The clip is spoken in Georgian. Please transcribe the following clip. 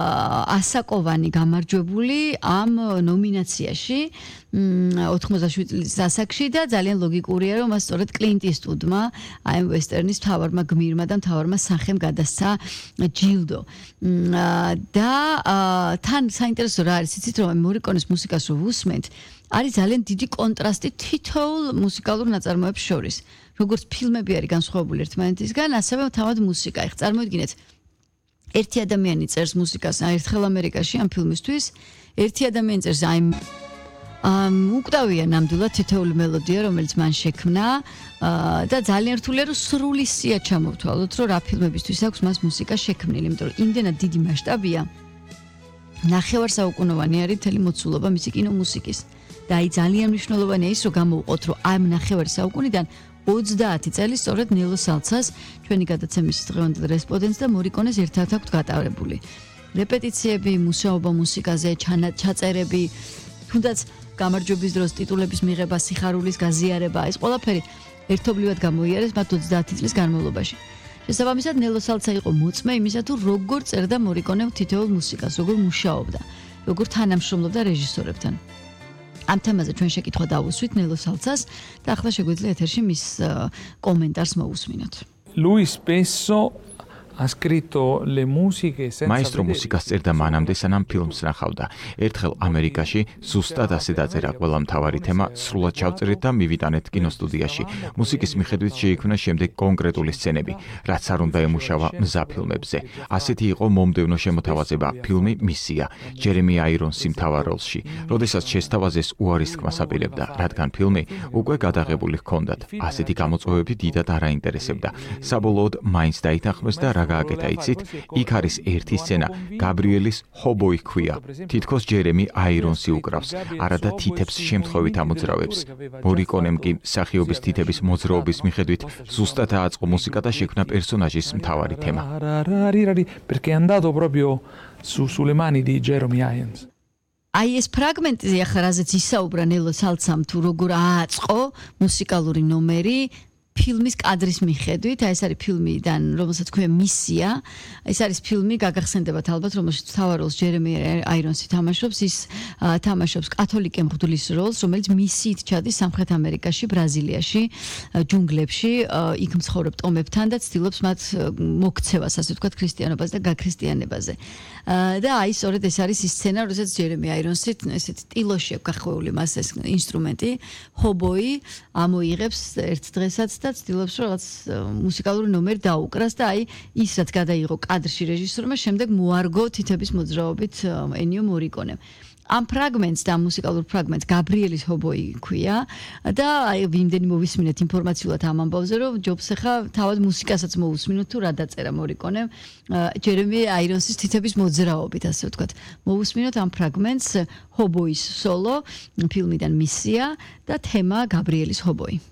ასაკოვანი გამარჯვებული ამ ნომინაციაში 87 წლის ასაკში და ძალიან ლოგიკურია რომ მას სწორედ კლინტ ისტვუდმა აი ვესტერნის მთავარმა გმირმა და მთავარმა სახემ გადასცა ჯილდო და თან საინტერესო რა არის იცით რომ მორიკონეს მუსიკას რო ვუსმენთ არის ძალიან დიდი კონტრასტი თითოეულ მუსიკალურ ნაწარმოებს შორის როგორც ფილმები არის განსხვავებული ერთმანეთისგან ასევე თავად მუსიკა ეხ წარმოიდგინეთ ერთი ადამიანი წერს მუსიკას ერთხელ ამერიკაში ამ ფილმისთვის ერთი ადამიანი წერს აი უკტავია ნამდვილად თითოეული მელოდია რომელიც მან შექმნა და ძალიან რთულია რომ სრული სია ჩამოვთვალოთ რომ რა ფილმებისთვის აქვს მას მუსიკა შექმნილი იმიტომ რომ იმდენად დიდი მასშტაბია ნახევარსაუკუნოვანი არის მთელი მოცულობა მისი კინომუსიკის და აი ძალიან მნიშვნელოვანია ის რომ გამოვყოთ რომ ამ ნახევარსაუკუნიდან 30 წელი სწორედ ნელო სალცას ჩვენი გადაცემის დღევანდელ რესპონდენტს და მორიკონეს ერთად აქვთ გატარებული. რეპეტიციები, მუშაობა მუსიკაზე, ჩაწერები, თუნდაც გამარჯვების დროს ტიტულების მიღება, სიხარულის გაზიარება, ეს ყველაფერი ერთობლივად გამოიარეს მათ 30 წლის განმავლობაში. შესაბამისად ნელო სალცა იყო მოწმე იმისა თუ როგორ წერდა მორიკონე თითოეულ მუსიკას, როგორ მუშაობდა, როგორ თანამშრომლობდა რეჟისორებთან. ამ თემაზე ჩვენ შეკითხვა დავუსვით ნელო სალცას და ახლა შეგვიძლია ეთერში მის კომენტარს მოვუსმინოთ. Lui spesso ha scritto le musiche senza Maestro მუსიკას წერდა მანამდე სანამ ფილმს ნახავდა. ერთხელ ამერიკაში ზუსტად ასე დაწერა ყველა მთავარი თემა სრულად ჩავწერეთ და მივიტანეთ კინოსტუდიაში. მუსიკის მიხედვით შეიქმნა შემდეგ კონკრეტული სცენები, რაც არ უნდა ემუშავა მზაფილმებზე. ასეთი იყო მომდევნო შემოთავაზება ფილმი მისია, ჯერემი აირონსი მთავარ როლში. როდესაც შესთავაზეს უარის თქმას აპირებდა, რადგან ფილმი უკვე გადაღებული ჰქონდათ. ასეთი გამოწვევები დიდად არ აინტერესებდა. საბოლოოდ მაინც დაითანხმეს და რა გააკეთა იცით, იქ არის ერთი სცენა, გაბრიელის ჰობოი ჰქვია. თითქოს ჯერემი აირონსი უკრავს, არადა თითებს შემთხვევით ამოძრავებს. მორიკონემ კი მსახიობის თითების მოძრაობის მიხედვით ზუსტად ააწყო მუსიკა და შექმნა პერსონაჟის მთავარი თემა. Perché è andato proprio sulle mani di Jeremy Irons. აი ეს ფრაგმენტი ახლა რაზეც ისაუბრა ნელო სალცამ თუ როგორ ააწყო მუსიკალური ნომერი ფილმის კადრის მიხედვით, აი ეს არის ფილმიდან, რომელსაც ქვია მისია. ეს არის ფილმი, გაგახსენდებათ ალბათ, რომელშიც მთავარ როლს ჯერემი აირონსი თამაშობს, ის თამაშობს კათოლიკე მღვდლის როლს, რომელიც მისიით ჩადის სამხრეთ ამერიკაში, ბრაზილიაში, ჯუნგლებში, იქ მცხოვრებ ტომებთან და ცდილობს მათ მოქცევას, ასე ვთქვათ, ქრისტიანობაზე და გაქრისტიანებაზე. და აი სწორედ ეს არის ის სცენა, როდესაც ჯერემი აირონსი ესეთი ტილოში აქვს გახვეული მას ეს ინსტრუმენტი, ჰობოი ამოიღებს ერთ დღესაც და ცდილობს რომ რაღაც მუსიკალური ნომერი დაუკრას და აი ის რაც გადაიღო კადრში რეჟისორმა შემდეგ მოარგო თითების მოძრაობით ენიო მორიკონემ. ამ ფრაგმენტს და მუსიკალურ ფრაგმენტს გაბრიელის ჰობოი ქვია და აი ვინდენი მოვისმინეთ ინფორმაციულად ამ ამბავზე რომ ჯობს ახლა თავად მუსიკასაც მოვუსმინოთ თუ რა დაწერა მორიკონემ ჯერემი აირონსის თითების მოძრაობით ასე ვთქვათ მოვუსმინოთ ამ ფრაგმენტს ჰობოის სოლო ფილმიდან მისია და თემა გაბრიელის ჰობოი